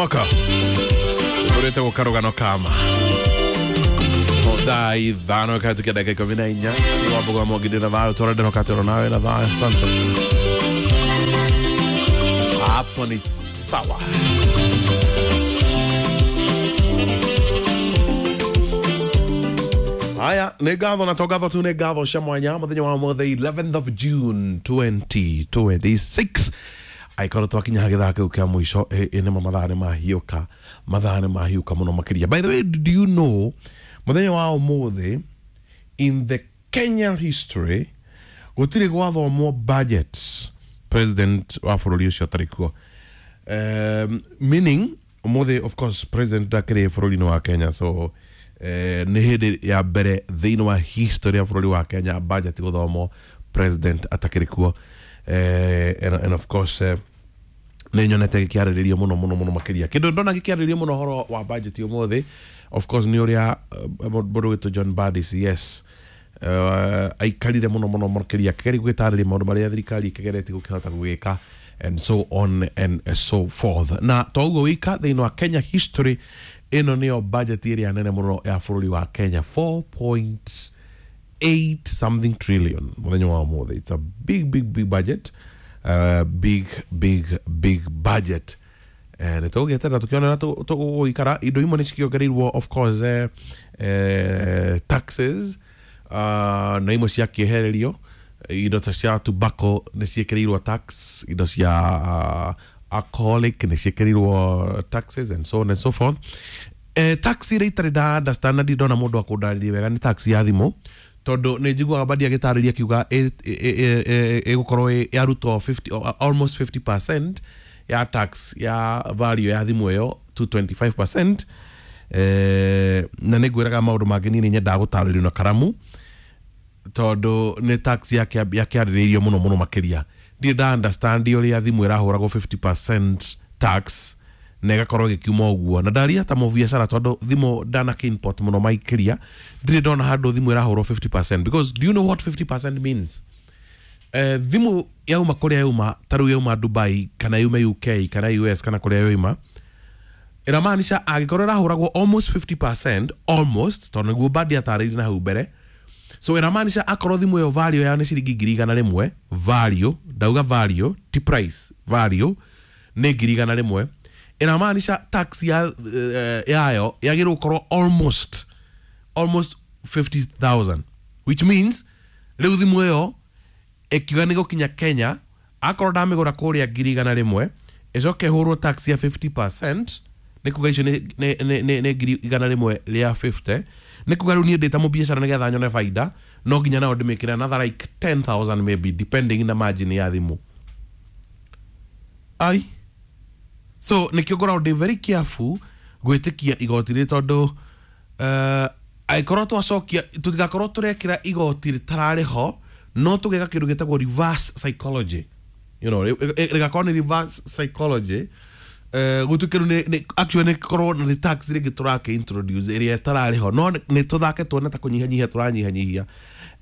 Moko urete gukarugano kama thaa 5 kahĩtũkia ndagĩka 14 wambuga mwongithio na thayũ twarendero katero nawe na thayũ asante hapo ni sawa. Haya, nĩ ngatho na to ngatho tu, nĩ ngatho cia mwanya mũthenya wa mũthĩ 11th of June 2026 aikorwo twakinya gĩthaa kĩu kĩa mũico nĩmo mathaa nĩ mahiũka, mathaa nĩ mahiũka mũno makĩria. By the way, do you know mũthenya wa ũmũthĩ in the Kenyan history gũtirĩ gwathomwo budget president wa bũrũri ũcio atarĩ kuo, meaning ũmũthĩ of course president ndakĩrĩ bũrũri-inĩ wa Kenya, so nĩ hĩndĩ ya mbere thĩinĩ wa history ya bũrũri wa Kenya budget gũthomwo president atakĩrĩ kuo. And of course nĩ nyonete gĩkĩarĩrĩrio mũno mũno mũno makĩria. Kĩndũ ndona gĩkĩarĩrĩrio mũno ũhoro wa budget ũmũthĩ of course nĩ ũrĩa mũndũ wĩtwo John Mbadi CS aikarire mũno mũno makĩria akĩgeria gwĩtarĩria maũndũ marĩa thirikari ĩkĩgeretie gũkĩhota gũgĩka and so on and so forth. Na to ũguo wika thĩinĩ wa Kenya history ĩno nĩyo budget ĩrĩa nene mũno ya bũrũri wa Kenya, 4.8 something trillion mũthenya wa ũmũthĩ. It's a big big big budget, big big big budget. Nĩ tũgũgĩeterera tũkĩone tũgũikara indo imwe nĩ cikĩongereirwo of course taxes, na imwe ciakĩehererio. Indo ta cia tobacco nĩ ciĩkĩrĩirwo tax, indo cia alcoholic nĩ ciĩkĩrĩirwo taxes and so on and so forth. Tax iria itarĩ nda understand na ndona mũndũ akũndarĩria wega nĩ tax ya thimũ, tondũ nĩ njiguaga Mbadi agĩtarĩria akiuga ĩgũkorwo yarutwo 50, almost 50% ya tax ya value ya thimũ ĩyo to 25%. Na nĩ ngwĩraga maũndũ mangĩ niĩ nĩ nyendaga gũtarĩrio na karamu tondũ nĩ tax yakĩarĩrĩirio mũno mũno makĩria. Ndirĩ nda understand ũrĩa thimũ ĩrahũragwo 50% tax na ĩgakorwo ĩgĩkiuma ũguo, na ndaria ta mũbiacara tondũ thimũ ndanakĩ-import mũno makĩria, ndirĩ ndona handũ thimũ ĩrahũrwo 50%, because do you know what 50% means? Thimũ yauma kũrĩa yauma, ta rĩu yauma Dubai kana yume UK kana US kana kũrĩa yoima, ĩramaanisha angĩkorwo ĩrahũragwo almost 50%, almost, tondũ nĩguo Mbadi atarĩirie na hau mbere, so ĩramaanisha akorwo thimũ ĩyo value yayo nĩ ciringi 100,000, value, ndauga value ti price, value nĩ 100,000, ĩramaanisha tax ya yayo yagĩrĩirwo gũkorwo almost 50,000, which means rĩu thimũ ĩyo ĩkiuga nĩ gũkinya Kenya, akorwo ndamĩgũra kũrĩa 100,000 ĩcoke ĩhũrwo tax ya 50%, nĩ kuga icio nĩ 150,000, nĩ kuga rĩu niĩ ndĩ ta mũbiacara nĩgetha nyone baida no nginya nao ndĩmĩkĩre another like 10,000 maybe, depending na margin ya thimũ. Ai, so nĩkĩo ngoragwo ndĩ very careful gwĩtĩkia igoti rĩrĩ tondũ angĩkorwo twacokia tũtigakorwo tũrekĩra igoti rĩtararĩ ho, no tũgeka kĩndũ gĩtagwo reverse psychology, you know, rĩgakorwo nĩ reverse psychology, gũtuĩke rĩu actually nĩ korwo nĩ tax rĩngĩ tũrakĩ introduce ĩrĩa ĩtararĩ ho, no nĩ tũthake tuone ta kũnyihanyihia tũranyihanyihia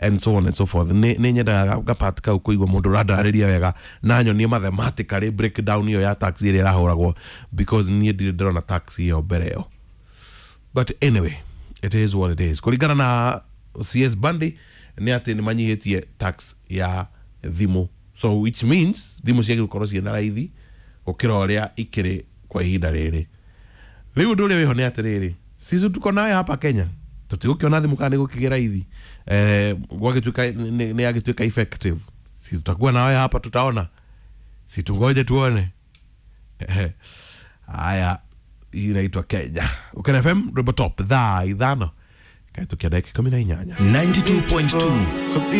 and so on and so forth. Nĩ nyendaga gapart kau kũigua mũndũ ũrandarĩria wega na nyonie mathematically breakdown ĩyo ya tax ĩrĩa ĩrahũragwo, because niĩ ndirĩ ndĩrona tax ĩyo mbere ĩyo. But anyway, it is what it is. Kũringana na CS Mbadi nĩ atĩ nĩ manyihĩtie tax ya thimũ, so which means thimũ ciagĩrĩirwo gũkorwo ciĩna raithi gũkĩra ũrĩa ikĩrĩ kwa ihinda rĩrĩ. Rĩu ũndũ ũrĩa wĩho nĩ atĩrĩrĩ, sisi tuko nayo hapa Kenya tũtigũkĩona thimũ kana nĩ gũkĩgĩa raithi, gwagĩtuĩka nĩ yagĩtuĩka effective, si tutakuwa nayo hapa, tutaona, si tungoje tuone. Haya, hii inaitwa Kenya. Ukena FM Rwimbo Top thaa 5 kahĩtũkia ndagĩka 18. 92.2.